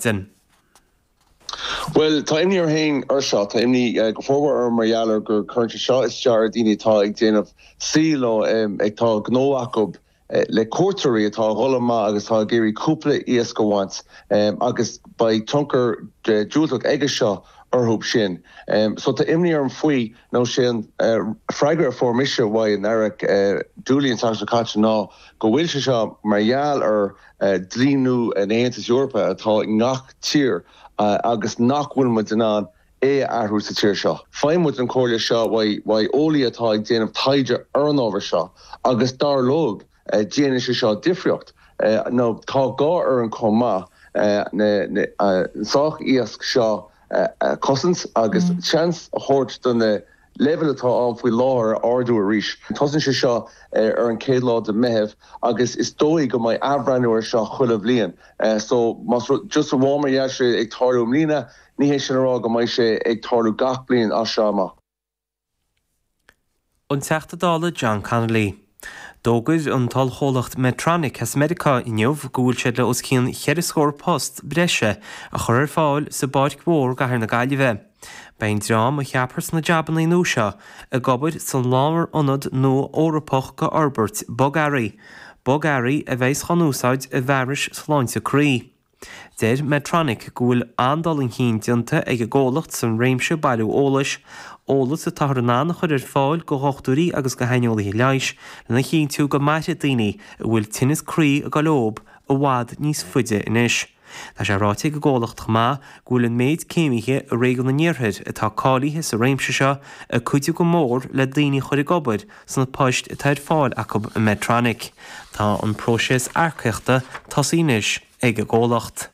Maidin. Bhuel, tá imní orm féin ar seo. Tá imní go formhór orm mar gheall ar gur cuireann sé seo isteach ar daoine atá ag déanamh saoil nó atá gnó acu le cuairteoirí atá ag dhul amach agus atá ag iarraidh cúpla iasc a bhaint agus beidh tionchar diúltach aige seo orthu sin. So tá imní orm faoi nó sé an freagra a fuair mise uaidh an Aire Dooley an tseachtain seo caite ná go bhfuil sé seo mar gheall ar dlí nua an Aontais Eorpaigh atá i ngach tír agus nach bhfuil muid in ann é a athrú sa tír seo. Faigheann muid an chomhairle seo uaidh eolaí atá ag déanamh taighde ar an ábhar seo agus dar leo déanann sé seo difríocht nó tá gá orainn chomh maith na sách iasc seo a chosaint agus seans a thabhairt do na leibhéil atá ann faoi láthair a ardú arís. Tosaíonn sé seo ar an chéad lá de Mheitheamh agus is dóigh go mbeidh athbhreithniú ar seo chuile bhliain. So más rud, just amháin mar gheall sé ag tarlú i mbliana, ní hé sin a rá go mbeidh sé ag tarlú gach bliain as seo amach. An Teachta Dála John Connolly. D'fhógair an t-ollchomhlacht Medtronic as Meiriceá inniu go bhfuil siad le os cionn cheithre scór post breise a chur ar fáil sa bPáirc Mhór i gcathair na Gaillimhe. Beidh an dream a cheapfar sna jabannaí nua seo ag obair sa lárionad nua Eorpach do fhorbairt bogearraí, bogearraí a bheas á n-úsáid i bhfearais sláinte croí. Deir Medtronic go bhfuil an-dul chun cinn déanta ag an gcomhlacht san réimse bailiú eolais, eolas atáthar in ann a chur ar fáil go dhochtúirí agus go shaineolaithe leighis lena chinntiú go mairfidh daoine a bhfuil tinneas croí ag dul leob i bhfad níos faide anois. Tá sé ráite ag an gcomhlacht chomh maith go bhfuil an méid céimithe i réigiún an Iarthair atá cáilithe sa réimse seo ag cuidiú go mór le daoine a chur ag obair sna poist atá ar fáil acu i Medtronic. Tá an próiseas earcaíochta tosaithe anois ag an gcomhlacht.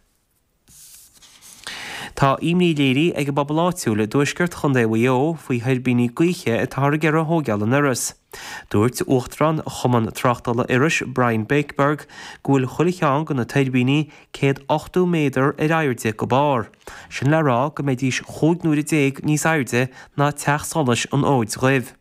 Tá imní léirithe ag an bpobal áitiúil i dtuaisceart Chontae Mhaigh Eo faoi thuirbíní gaoithe atáthar ag iarraidh a thóigeáil in Iorras. Dúirt Uachtarán Chumann Tráchtála Iorrais, Brian Bakeberg, go bhfuil chuile cheann de na tuirbíní 180 méadar ar airde go barr. Sin le rá go mbeidís 15 nuaire níos airde ná teach solais an Fhóid Dhuibh.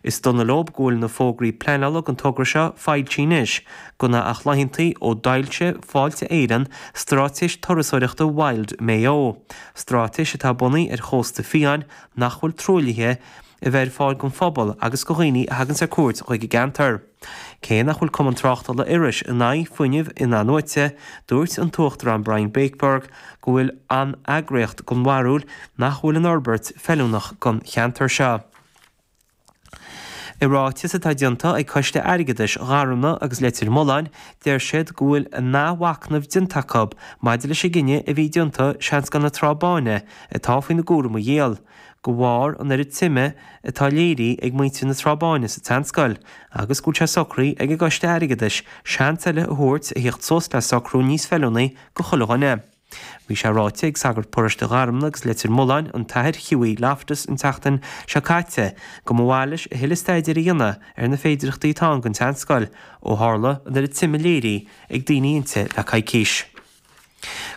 Is dona leob go bhfuil na fógraí pleanála don togra seo foilsithe anois, gan ach laethantaí ó d'fhoilsigh Fáilte Éireann straitéis turasóireachta Wild Mayo, straitéis atá bunaithe ar chósta fiáin nach bhfuil truaillithe a bheith ar fáil don phobal agus do dhaoine a thaganns ar cuairt chuig an gceantar. Cé nach bhfuil Cumann Tráchtála Iorrais in aghaidh fuinneamh in-athnuaite, dúirt an tUachtarán Brian Bakeberg go bhfuil an eagraíocht den bharúil nach bhfuil an fhorbairt feiliúnach don cheantar seo. I ráiteas atá déanta ag Coiste Airgeadais Gharmna agus Leitir Mealláin, deir siad go bhfuil a n-athmhacnamh déanta acu maidir leis an gcinneadh a bhí déanta Seanscoil na Trá Báine atá faoina gcúram a dhíol, de bharr an oiread suime atá léirithe ag muintir na Trá Báine sa tseanscoil agus go bhfuil sé socraithe ag an gCoiste Airgeadais seans eile a thabhairt a thíocht suas le socrú níos feiliúnaí do chuile dhuine. Bhí sé ráite ag sagart paróiste Gharmna agus Leitir Mealláin, an tAthair Hughie Loftus an tseachtain seo caite, go mba mhaith leis a thuilleadh staidéir a dhéanamh ar na féidireachtaí atá ann don tseanscoil, ó tharla an oiread suime léirithe ag daoine inti le coicís.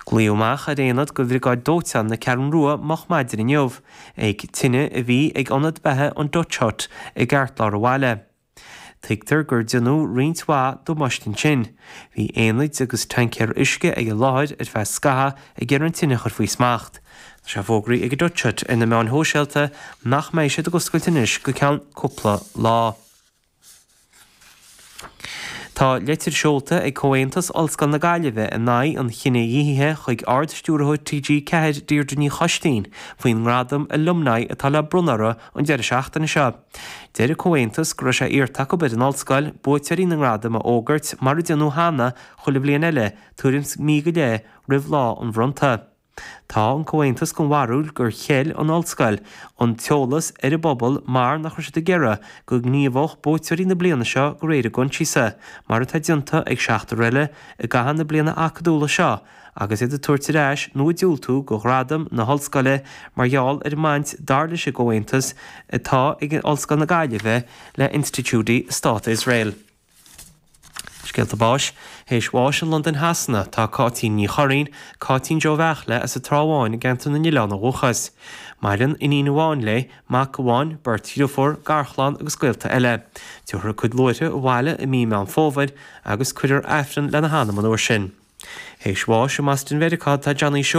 Glaodh amach ar aonad de Bhriogáid Dóiteáin na Ceathrún Rua moch maidin inniu ag tine a bhí ag ionad beatha an Dutch Hut i gceartlár an bhaile. Tuigtear gur déanadh roinnt mhaith damáiste ansin. Bhí aonaid agus taincéir uisce ag an láthair ar feadh scathaimh ag iarraidh an tine a chur faoi smacht. Tá sé fógraithe ag an Dutch Hut ar na meáin shóisialta nach mbeidh siad ag oscailt anois go ceann cúpla lá. Tá leitir seolta ag Comhaontas Ollscoil na Gaillimhe in aghaidh an chinedhíothaithe chuig Ard-Stiúrthóir TG4 Deirdre Ní Choistín faoin ngradam Alumni atá le bronnadh orthu an deireadh seachtaine seo. Deir an Comhaontas go raibh sé iarrta acu ar an Ollscoil buaiteoirí na ngradam a fhógairt mar a déanadh cheana chuile bhliain eile tuairim 's mí go leith roimh lá an bhronnta. Tá an Comhaontas den bharúil gur cheil an Ollscoil an t-eolas ar an bpobal mar nach raibh siad ag iarraidh go ngníomhódh buaiteoirí na bliana seo de réir a gcoinsiasa mar atá déanta ag seachtar eile i gcaitheamh na bliana acadúla seo agus iad ag tabhairt ar ais nó ag diúltú do ghradam na hOllscoile mar gheall ar an mbaint, dar leis an gComhaontas, atá ag Ollscoil na Gaillimhe le institiúidí Stát Iosrael. Scéalta báis. Théis bháis i Londain Shasana tá Cáitín Ní Churraoin, Cáitín Joe Bheartla as an Trá Bháin i gceantar na nOileán ó dhúchas. Maireann iníon amháin léi, mac amháin, beirt dhriofúr, garchlann agus gaolta eile. Tabharfar a cuid luaithre abhaile i mí Meán Fómhair agus cuirfear Aifreann lena hanam an uair sin. Théis bháis i mBoston Mheiriceá atá Johnny Seoighe.